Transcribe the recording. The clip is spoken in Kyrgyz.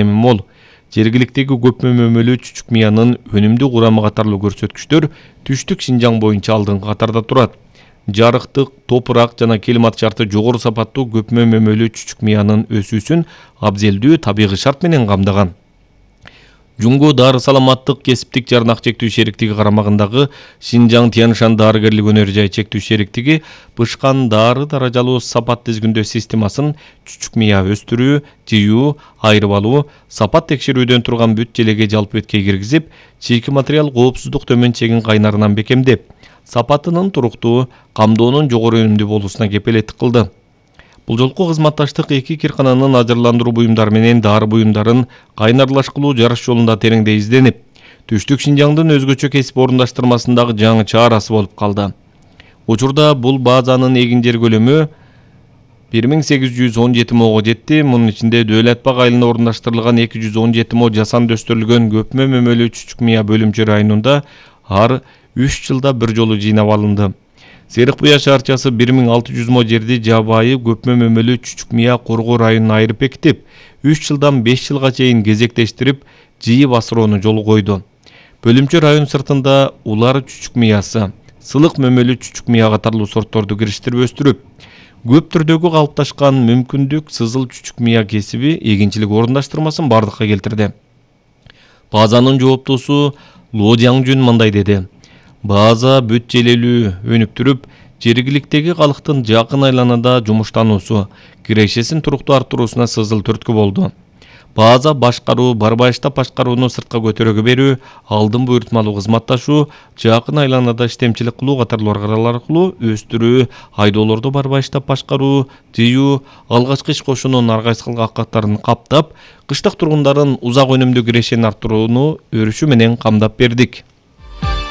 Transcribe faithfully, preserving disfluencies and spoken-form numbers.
эми мол. Жергиликтеги көп мөмөлүү чүчүк мыянын өнүмдүү курамы катарлуу көрсөткүчтөр түштүк Шинжаң боюнча алдыңкы катарда турат. Жарыктык, топурак жана климат шарты жогору сапаттуу көп мөмөлүү чүчүк мыянын өсүүсүн абзелдүү табигый шарт менен камдаган. Жуңгу Дары саламаттык кесиптик жарнак чектүү шериктиги карамагындагы Шинжаң Тянь-Шань дарыгерлик өнөр жай чектүү шериктиги бышкан дары даражалуу сапат тизгиндөө системасын чүчүк мыя өстүрүү, жыюу, айырып алуу, сапат текшерүүдөн турган бүт желеге жалпы беткей киргизип, чийки материал коопсуздук төмөн чегин кайнарынан бекемдеп, сапатынын туруктуу, камдоонун жогору өнүмдүү болуусуна кепелеттик кылды. Бул жолку кызматташтык эки киркананын ажырландыруу буюмдары менен дары буюмдарын кайнарлашкылуу жарыш жолунда тереңдей изденип, түштүк Шинжаңдын өзгөчө кесип орундаштырмасындагы жаңы чаарасы болуп калды. Учурда бул базанын эгин жер көлөмү бир миң сегиз жүз он жети мого жетти. Мунун ичинде Дөөлөт Бак айылына орундаштырылган эки жүз он жети мо жасанды өстүрүлгөн көпмө мөмөлүү чүчүк мыя бөлүмчө районунда ар үч жылда бир жолу жыйнап алынды. Серик Буя шаарчасы бир миң алты жүз мо жерди жабайы көпмө мөмөлүү чүчүк мыя коргоо районуна айырып бекитип, үч жылдан беш жылга чейин кезектештирип, жыйып асыроону жолу койду. Бөлүмчө район сыртында улар чүчүк мыясы, сылык мөмөлүү чүчүк мыя катарлуу сортторду кириштирип өстүрүп, көп түрдөгү калыпташкан мүмкүндүк сызыл чүчүк мыя кесиби эгинчилик орундаштырмасын бардыкка келтирди. Базанын жооптуусу Ло Жаңжүн мындай деди: База бүт желелүү өнүп туруп, жергиликтеги калктын жакын айланада жумуштануусу, кирешесин туруктуу арттыруусуна сызыл түрткү болду. База башкаруу, барбайыштап башкарууну сыртка көтөрөгө берүү, алдын буйртмалуу кызматташуу, жакын айланада иштемчилик кылуу катарлуу аркалар аркылуу өстүрүү, айдоолорду барбайыштап башкаруу, жыюу, алгачкы иш кошуунун ар кайсы каттарын каптап, кыштык тургундарын узак өнүмдүү кирешени арттырууну өрүшү менен камдап бердик.